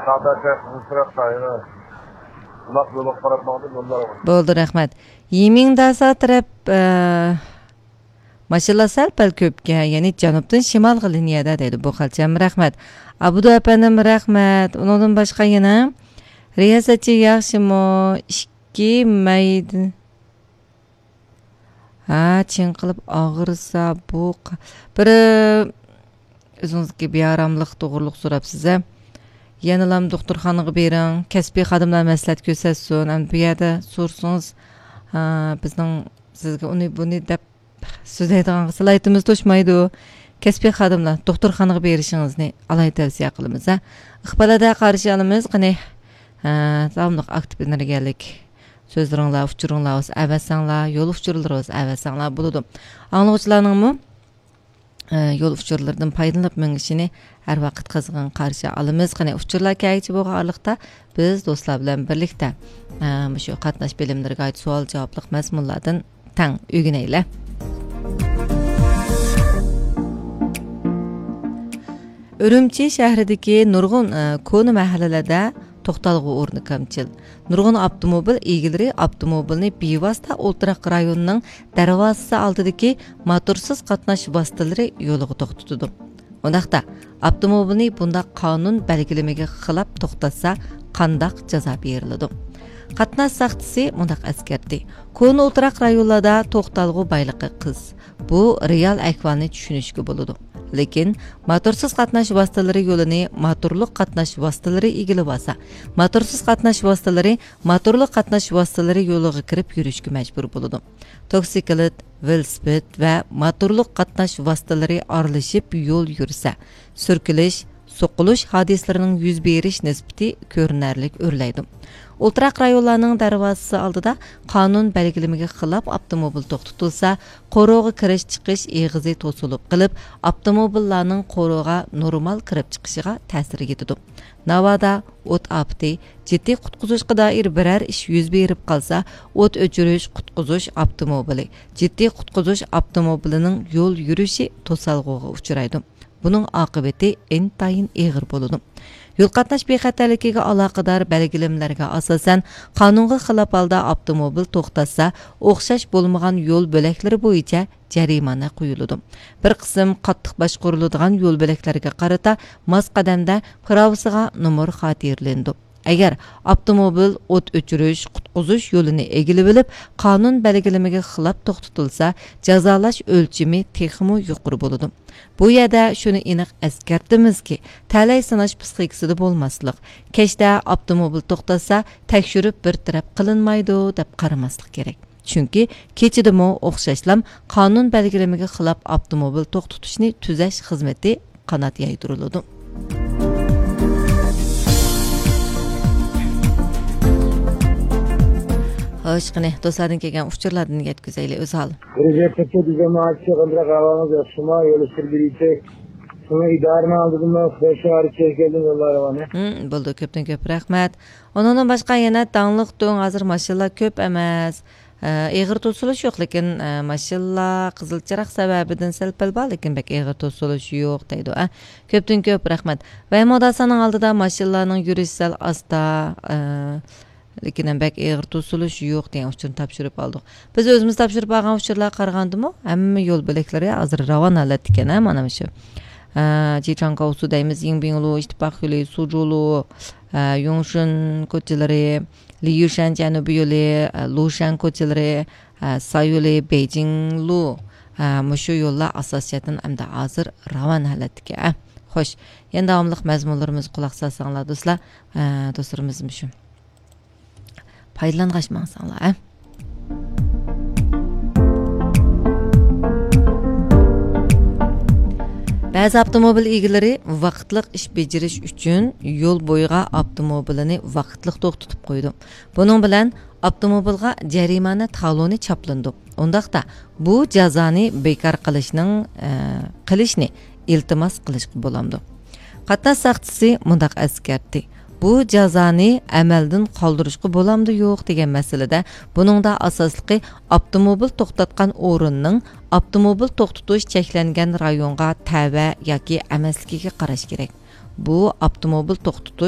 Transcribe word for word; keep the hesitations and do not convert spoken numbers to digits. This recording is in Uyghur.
تاڭداشلار قىزىقسىراپ قارايدۇ. بۇلاق يولغا قاراپ ماڭدى، يوللار. بولدى، رەھمەت. يىمىڭداسا تەرەپ، ئە، ماشىنىلار سەل پەل كۆپكەن، يەنى جەنۇبتىن شىمالغا لىنىيەدە دەيدۇ. بۇ خەلچەم، رەھمەت. ئابدۇ ئەپەندىم، رەھمەت. ئۇنىڭدىن باشقا يەنە رىياسەتچى ياخشىمۇ؟ ئىككى مەيدە. ھە، چىڭقىلىپ ئاغرىسا، بۇ ق-، بىر، ئۆزىڭىزگە بىئاراملىق توغرۇلۇق سوراپسىز، ھە؟ يەنىلام دوختۇرخانىغا بېرىڭ، كەسپىي خادىملار مەسلىھەت كۆرسەتسۇن. ئەمدى بۇ يەردە سورىسىڭىز، ھە، بىزنىڭ سىزگە ئۇنى، بۇنى دەپ سۆزلەيدىغان سالاھىيىتىمىز توشمايدۇ. كەسپىي خادىملار دوختۇرخانىغا بېرىشىڭىزنى ئالاھىدە تەۋسىيە قىلىمىز، ھە؟ ئىقبال ھەدە قارشى ئالىمىز، قېنى، ھە، داۋاملىق ئاكتىپ ئېنېرگىيەلىك سۆزلىرىڭلار، ئۇچۇرۇڭلار بولسا ئەۋەتسەڭلار، يول ئۇچۇرلىرى بولسا ئەۋەتسەڭلار بولىدۇ. ئاڭلىغۇچىلارنىڭمۇ، ئە، يول ئۇچۇرلىرىدىن پايدىلىنىپ مېڭىشىنى ھەر ۋاقىت قىزغىن قارشى ئالىمىز. قېنى، ئۇچۇرلار كەلگۈچە بولغان ئارىلىقتا بىز دوستلار بىلەن بىرلىكتە، ئە، مۇشۇ قاتناش بىلىملىرىگە ئائىت سوئال-جاۋابلىق مەزمۇنلاردىن تەڭ ئۆگىنەيلى. ئۈرۈمچى شەھىرىدىكى نۇرغۇن، ئە، كونا مەھەللىلەردە توختالغۇ ئورنى كەمچىل. نۇرغۇن ئاپتوموبىل ئىگىلىرى ئاپتوموبىلنى بىۋاسىتە ئولتۇراق رايونىنىڭ دەرۋازىسى ئالدىدىكى موتورسىز قاتناش ۋاسىتىلىرى يولىغا توختىتىدۇ. ئۇنداقتا، ئاپتوموبىلنى بۇنداق قانۇن بەلگىلىمىگە خىلاپ توختاتسا، قانداق جازا بېرىلىدۇ؟ قاتناش ساقچىسى مۇنداق ئەسكەرتتى: كونا ئولتۇراق رايونلاردا توختالغۇ بايلىقى قىس. بۇ رېئال ئەھۋالنى چۈشىنىشكە بولىدۇ. لېكىن موتورسىز قاتناش ۋاسىتىلىرى يولىنى موتورلۇق قاتناش ۋاسىتىلىرى ئىگىلىۋالسا، موتورسىز قاتناش ۋاسىتىلىرى موتورلۇق قاتناش ۋاسىتىلىرى يولىغا كىرىپ يۈرۈشكە مەجبۇر بولىدۇ. توكسىكلىت، ۋېلىسىپىت ۋە موتورلۇق قاتناش ۋاسىتىلىرى ئارىلىشىپ يول يۈرسە، سۈركىلىش، سوقۇلۇش ھادىسىلىرىنىڭ يۈز بېرىش نىسبىتى كۆرۈنەرلىك ئۆرلەيدۇ. ئولتۇراق رايونلارنىڭ دەرۋازىسى ئالدىدا قانۇن بەلگىلىمىگە خىلاپ ئاپتوموبىل توختىتىلسا، قورۇغا كىرىش-چىقىش ئېغىزى توسۇلۇپ قېلىپ، ئاپتوموبىللارنىڭ قورۇغا نورمال كىرىپ چىقىشىغا تەسىر يېتىدۇ. ناۋادا ئوت ئاپىتى، جىددىي قۇتقۇزۇشقا دائىر بىرەر ئىش يۈز بېرىپ قالسا، ئوت ئۆچۈرۈش قۇتقۇزۇش ئاپتوموبىلى، جىددىي قۇتقۇزۇش ئاپتوموبىلىنىڭ يول يۈرۈشى توسالغۇغا ئۇچرايدۇ. بۇنىڭ ئاقىۋىتى ئىنتايىن ئېغىر بولىدۇ. يول قاتناش بىخەتەرلىكىگە ئالاقىدار بەلگىلىمىلەرگە ئاساسەن، قانۇنغا خىلاپ ھالدا ئاپتوموبىل توختاتسا، ئوخشاش بولمىغان يول بۆلەكلىرى بويىچە جەرىمانە قويۇلىدۇ. بىر قىسىم قاتتىق باشقۇرۇلىدىغان يول بۆلەكلەرگە قارىتا ماس قەدەمدە پىراۋىسىغا نومۇر خاتىرىلىنىدۇ. ئەگەر ئاپتوموبىل ئوت ئۆچۈرۈش، قۇتقۇزۇش يولىنى ئىگىلىۋېلىپ، قانۇن بەلگىلىمىگە خىلاپ توختىتىلسا، جازالاش ئۆلچىمى تېخىمۇ يۇقىرى بولىدۇ. بۇ يەردە شۇنى ئېنىق ئەسكەرتىمىزكى، تەلەي سىناش پىسخىكىسىدا بولماسلىق، كەچتە ئاپتوموبىل توختاتسا، تەكشۈرۈپ بىر تەرەپ قىلىنمايدۇ، دەپ قارىماسلىق كېرەك. چۈنكى كېچىدىمۇ ئوخشاشلام قانۇن بەلگىلىمىگە خىلاپ ئاپتوموبىل توختىتىشنى تۈزەش خىزمىتى قانات يايدۇرۇلىدۇ. خوش، قېنى، دوستلاردىن كەلگەن ئۇچۇرلاردىن يەتكۈزەيلى، ئۆزھال. بىر گەپ قىلسا، بىزدە ماچى قىلدىراق ئەھۋالىمىز ياخشىما، يوللىشىپ بېرىچەك. شۇڭا ئىدارىنىڭ ئالدىدىمۇ خۇداي شارى چەكلىدىم يوللار مانا. ھىم، بولدى، كۆپتىن كۆپ رەھمەت. ئۇنىڭدىن باشقا يەنە داڭلىق دۆڭ، ھازىر ماشىنىلار كۆپ ئەمەس. ئە، ئېغىر توسۇلۇش يوق، لېكىن، ئە، ماشىنىلار قىزىل چىراغ سەۋەبىدىن سەل پەل بار، لېكىن بەك ئېغىر توسۇلۇش يوق دەيدۇ. ئە، كۆپتىن كۆپ رەھمەت. ۋەيمۇداسانىڭ ئالدىدا ماشىنىلارنىڭ يۈرۈشى سەل ئاستا، ئە، لېكىن ھەم بەك ئېغىر توسۇلۇش يوق دېگەن ئۇچۇرنى تاپشۇرۇپ ئالدۇق. بىز ئۆزىمىز تاپشۇرۇپ ئالغان ئۇچۇرلارغا قارىغاندىمۇ، ھەممە يول بۆلەكلىرى ھازىر راۋان ھالەتتىكەن، ھە، مانا مۇشۇ. ئە، جىچاڭكاۋسۇ دەيمىز، يىڭبىڭلۇ، ئىتتىپاق يولى، سۇجۇلۇ، ئە، يۇڭشېن كوچىلىرى، لىيۈشەن جەنۇبىي يولى، ئە، لۇشەن كوچىلىرى، ئە، سايولى، بېيجىڭلۇ، ئە، مۇشۇ يوللار ئاساسىي جەھەتتىن ئەمدى ھازىر راۋان ھالەتتىكى، ئە. خوش، يەنە داۋاملىق مەزمۇنلىرىمىزغا قۇلاق سالساڭلار، دوستلار، ئە، دوستلىرىمىزمۇ شۇ پايدىلانغاچ ماڭساڭلار، ئە. بەزى ئاپتوموبىل ئىگىلىرى ۋاقىتلىق ئىش بېجىرىش ئۈچۈن يول بويىغا ئاپتوموبىلىنى ۋاقىتلىق توختىتىپ قويىدۇ. بۇنىڭ بىلەن ئاپتوموبىلغا جەرىمانە تالونى چاپلىنىدۇ. ئۇنداقتا، بۇ جازانى بىكار قىلىشنىڭ، ئە، قىلىشنى ئىلتىماس قىلىشقا بولامدۇ؟ قاتناش ساقچىسى مۇنداق ئەسكەرتتى: بۇ جازانى ئەمەلدىن قالدۇرۇشقا بولامدۇ يوق دېگەن مەسىلىدە، بۇنىڭدا ئاساسلىقى ئاپتوموبىل توختاتقان ئورۇننىڭ ئاپتوموبىل توختىتىش چەكلەنگەن رايونغا تەۋە ياكى ئەمەسلىكىگە قاراش كېرەك. بۇ ئاپتوموبىل توختىتىش